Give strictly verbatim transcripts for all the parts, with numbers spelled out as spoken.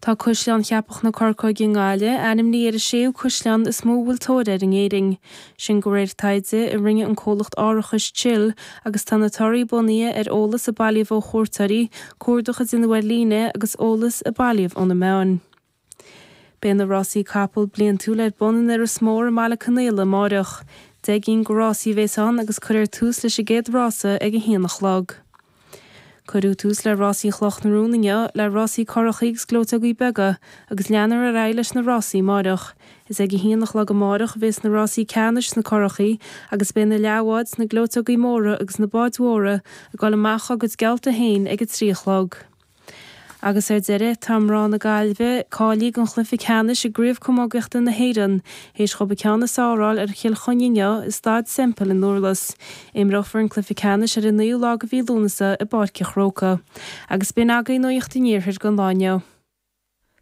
Tá Caisleán Cheapach na Corcóige i nGaillimh ainmnithe ar an séú caisleán is mó a bhfuil tóir air in Éirinn. Sin de réir taighde a rinne an comhlacht árachais Chill agus tá na torthaí bunaithe ar eolas a bailíodh ó chuairteoirí, cuardach a déanadh ar líne agus eolas a bailíodh ó na meáin. Beidh na rásaí capall bliantúil ar bun in Iorras Mór i mBaile Conaola amárach. Deich gcinn de rásaí a bheas ann agus cuirfear tús leis an gcéad rása ag a haon a chlog. Cuireadh tús le rásaí Chloch na Rón inniu le rásaí curachaí agus gleoiteogaí beaga agus leanfar ar aghaidh leis na rásaí amárach. Is ag a haon a chlog amárach a bheas na rásaí ceannais sna curachaí agus beidh na leathbháid sna gleoiteogaí móra agus na báid mhóra ag dul amach á gcuid geallta féin ag a trí a chlog. Agus ar deireadh, tá mná na Gaillimhe cáilithe don chluiche ceannais i gCraobh Camógaíochta na hÉireann, théis dhóibh an ceann is fearr a fháil ar Chill Chainnigh inniu i Staid Semple i nDurlas. Imreofar an cluiche ceannais ar an naoú lá de mhí Lúnasa i bPáirc an Chrócaigh. Agus b'in agaibh Nuacht an Iarthair don lá inniu.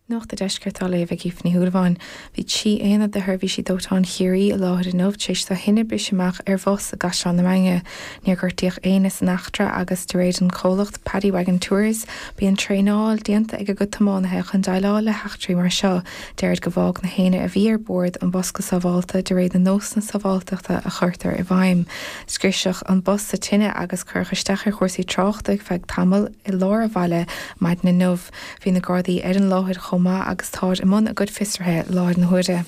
Nuacht an Deiscirt á léamh ag Aoife Ní Shúilleabháin. Bhí trí aonad de sheirbhísí dóiteáin Chiarraí i láthair inniu tar éis do thine briseadh amach ar bhus i gCaisleán na Mainge. Níor gortaíodh éinne san eachtra agus de réir an chomhlacht Paddy Wagon Tours, bíonn traenáil déanta ag a gcuid tiománaithe chun déileáil le heachtraí mar seo. Deirid go bhfág na héinne a bhí ar bord an bus go sábháilte de réir na nósanna sábháilteachta a chuirtear i bhfeidhm. Scriosadh an bus sa tine agus cuireadh isteach ar chúrsaí tráchta ar feadh tamaill i lár an bhaile maidin inniu. Bhí na Gardaí ar an láthair chomh maith agus táid i mbun a gcuid fiosraithe i láthair na huaire.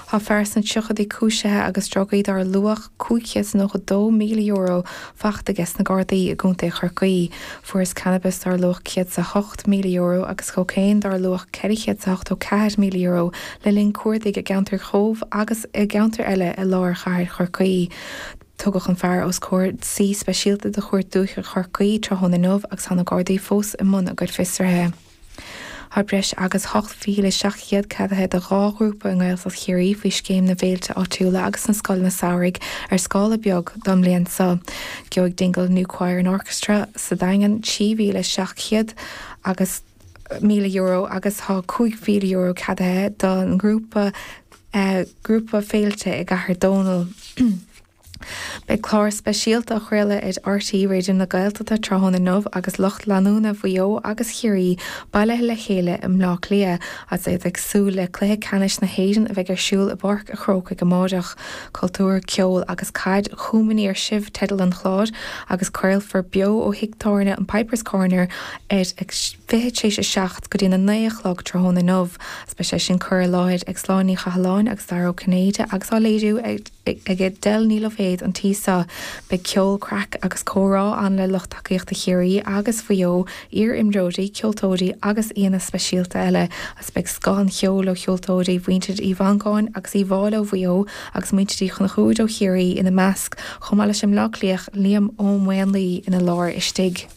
Tá fear sna tríochaidí cúisithe agus drugaí dar luach cúig chéad is nócha dó míle euro fachta aige sna Gardaí i gContae Chorcaí. Fuarthas cannabis dar luach céad is a hocht míle euro agus cócaon dar luach ceithre chéad is ochtó ceathair míle euro le linn cuardaigh i gceantar Chóbh agus i gceantair eile i lár chathair Chorcaí. Tugadh an fear os comhair suí speisialta de Chúirt Dúiche Chorcaí tráthnóna inniu agus tá na Gardaí fós i mbun a gcuid fiosraithe. Tá breis agus ocht mhíle seacht gcéad ceadaithe do dhá ghrúpa i nGaeltacht Chiarraí faoi Scéim na bhFéilte Áitiúla agus na Scoileanna Samhraidh ar scála beag don mbliain seo. Gheobhaidh Dingle New Choir and Orchestra sa Daingean trí mhíle seacht gcéad agus míle euro agus tá cúig mhíle euro ceadaithe don ngrúpa grúpa féilte i gCathair Dónall. Beidh clár speisialta á chraoladh ar RTÉ Raidió na Gaeltachta tráthnóna inniu agus lucht leanúna Mhaigh Eo agus Chiarraí bailithe le chéile i mBleá Cliath agus iad ag súil le cluiche ceannais na hÉireann a bheidh ar siúl i bPáirc an Chrócaigh amárach. Cultúr, ceol agus caid chugam aniar sibh teideal an chláir agus craolfar beo ó thigh tábhairne an Pipers Corner ar a fiche tar éis a seacht go dtí a naoi a chlog tráthnóna inniu. Beidh sé sin curtha i láthair ag Sláine Ní Chathalláin agus Dara Ó Cinnéide agus á léiriú ag ag Edel Ní Loibhéad an tí seo. Beidh ceol, craic agus comhrá ann le lucht tacaíochta Chiarraí agus Mhaigh Eo, iar-imreoirí, ceoltóirí agus aíonna speisialta eile agus beidh scoth an cheoil ó cheoltóirí mhuintir Uí Mhangáin agus Uí Mháille ó Mhaigh Eo agus muintir Uí Chonchúir ó Chiarraí ina measc, chomh maith leis an mBleá Cliathach Liam Ó Maonlaí ina lár istigh.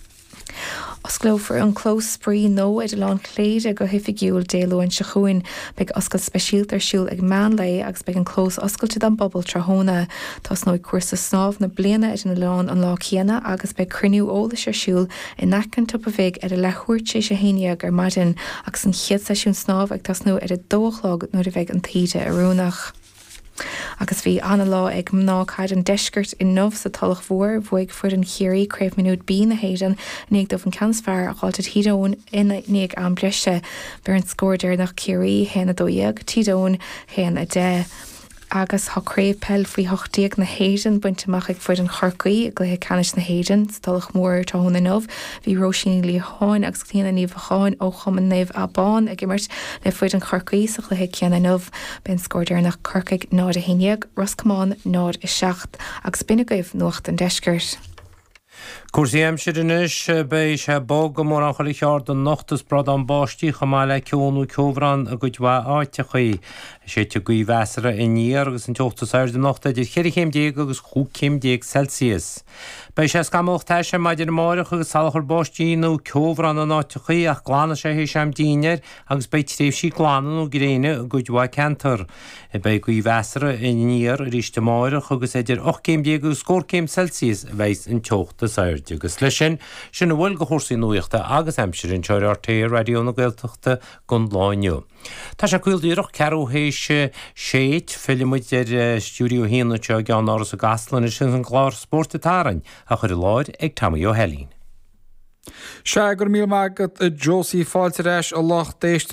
Osclófar an clós spraoi nua ar Oileán Chléire go hoifigiúil Dé Luain seo chugainn. Beidh oscailt speisialta ar siúl ag meán lae agus beidh an clós oscailte don bpobal tráthnóna. Tosnóidh cúrsa snámh na bliana ar an oileán an lá céanna agus beidh cruinniú eolais ar siúl in aice an tSiopa Bhig ar a leathuair tar éis a haon dhéag ar maidin agus an chéad seisiún snámha ag tosnú ar a dó a chlog nuair a bheidh an taoide oiriúnach. Agus bhí ana-lá ag mná caide an deiscirt inniu sa Tulach Mhór. Bhuaigh foireann Chiarraí Craobh Mionúir B na hÉireann i ndiaidh dóibh an ceann is fearr a fháilt ar Thír Eoghain i ndiaidh am breise. B'é an scór deireanach Ciarraí, haon a dó dhéag, Tír Eoghain, haon a deich. Agus tá Craobh Peil Faoi hocht déag na hÉireann bainte amach ag foireann Chorcaí i gcluiche ceannais na hÉireann sa Tulach Mhór tráthnóna inniu. Bhí Róisín Ní Liatháin agus Clíona Ní Bheacháin ó Chumann Naomh Abán ag imirt le foireann Chorcaí sa chluiche céanna inniu. B'é an scór deireanach Corcaigh náid a haon déag, Ros Comáin náid a seacht. Agus b'in agaibh Nuacht an Deiscirt. Cúrsaí aimsire anois, beidh sé bog i mórán chuile cheard anocht is bradán báistí chomh maith le ceo nó ceobhrán i gcuid mhaith áiteachaí. Séidfidh gaoth mheasartha aniar agus an teocht is airde anocht idir cheithre chéim déag agus chúig chéim déag Celsius. Beidh sé scamallach tais ar maidin amárach agus salachar báistí nó ceobhrán in áiteachaí ach glanfaidh sé théis am dinnéir agus beidh tréimhsí glana nó gréine i gcuid mhaith ceantar. Beidh gaoth mheasartha aniar arís amárach agus idir ocht gcéim déag agus scór céim Celsius a bheidh an teocht is airde. Agus leis sin, sin a bhfuil de chúrsaí nuachta agus aimsire anseo ar RTÉ Raidió na Gaeltachta don lá inniu. Tá sé caol díreach ceathrú théis sé. Fillfidh muid ar Stiúideo a haon anseo i gceannáras i gCasla anois agus an clár Spórt an tSathairn á chur i láthair ag Tommy Ó hAilín. Sea, go raibh míle maith agat a Josie, fáilte ar ais a lucht éisteachta.